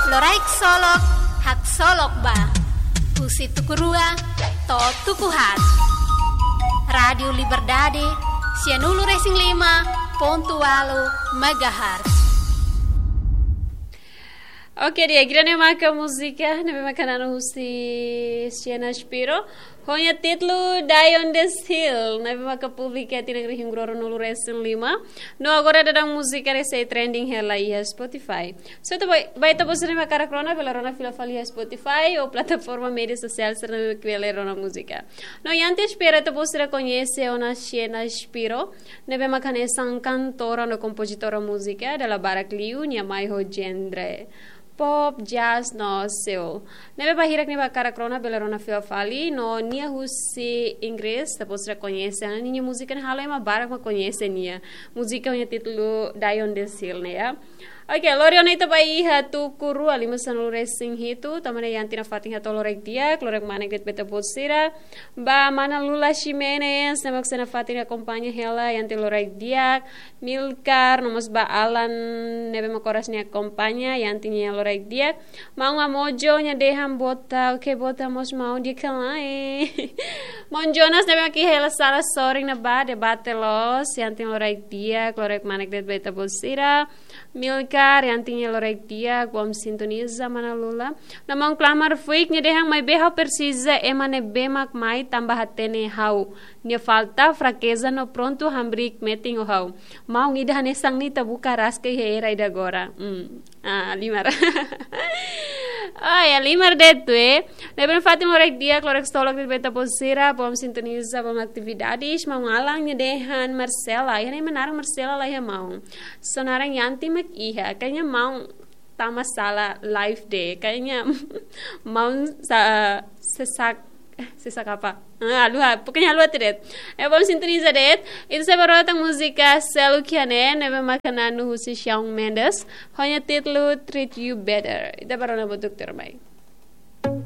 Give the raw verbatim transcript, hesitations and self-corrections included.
Loraik Solok, haksolok ba. Husi tuku rua to'o tuku haat. Rádiu Liberdade, sianulu-resin-lima pontu ualu megahertz. Oke, di'ak, ida-ne'e maka múzika ne'ebé maka na'an husi Sienna Spiro, ho nia títulu Die on the Hill, ne'ebé maka publika tinan rihun rua ruanulu-resin-lima. No agora daudaun múzika ne'e sei trending hela iha Spotify. So, ita ba, ba ita-boot sira ne'ebé hakarak rona, bele rona fila fali iha Spotify ou plataforma média sosiál sira ne'ebé bele rona múzika. No, iha ita espera ita-boot sira koñese ona Sienna Spiro, ne'ebé maka hanesan kantora no kompozitora múzika, dala barak liu nia mai ho genre pop, jazz no soul. Ne'ebé ba hirak ne'ebé hakarak rona bele rona fila fali, no nia husi Inggris, ita-boot sira koñese, ninia múzika ne'e halo ema barak mak koñese nia. Múzika ho nia títulu Die on the Hill ne'e, ya. Oke, lori ona ita ba iha tuku rua lima sanulu-resin-hitu, tanba ne'e iha ita-nia fatin hato'o loraik di'ak, loraik manek de'it ba ita-boot sira. Ba mana Lula Ximenes, ne'ebé mak iha ita-nia fatin akompaña hela, iha ita loraik di'ak. Milkar, no mós ba Alan, ne'ebé mak oras ne'e akompaña, iha ita-nia loraik di'ak. Maun Amojo, nia dehan boot, oke, boot mós maun di'ak ka lae. Maun Jonas, ne'ebé mak iha hela sala sorin ne'ebá, debate loos, iha ita loraik di'ak, loraik manek de'it ba ita-boot sira. Milkar, iha ita loraik di'ak, bom sintoniza, mana Lula. No maun Klamar Fuik, nia dehan maibé ha'u presiza ema ne'ebé mak mai tanba hatene ha'u nia falta, frakeza no prontu hamriik metin ho ha'u. Maun ida hanesan ne'e ita buka rasik iha era ida agora. Hmm. Ah, Limar. Oh ya, Limar de'it, eh. Ne'ebé mak fatin loraik di'ak, loraik solok de'it ba ita-boot sira, bom sintoniza, bom atividades, maun Alan nia dehan Marcela. Iha ne'e ema naran Marcela la iha maun. Só naran Yanti mak iha. Kayaknya maun tama sala live de'it. Kayaknya maun sa, sesak, eh, sesak apa? Ah, haluha, pokoknya haluha tiha de'it. Eh, bom sintoniza de'it. Ita sei ba rona tan múzika seluk iha ne'e, ne'ebé maka na'an husi Shawn Mendes. Ho nia títulu Treat You Better. Ita ba rona buat tuirmai.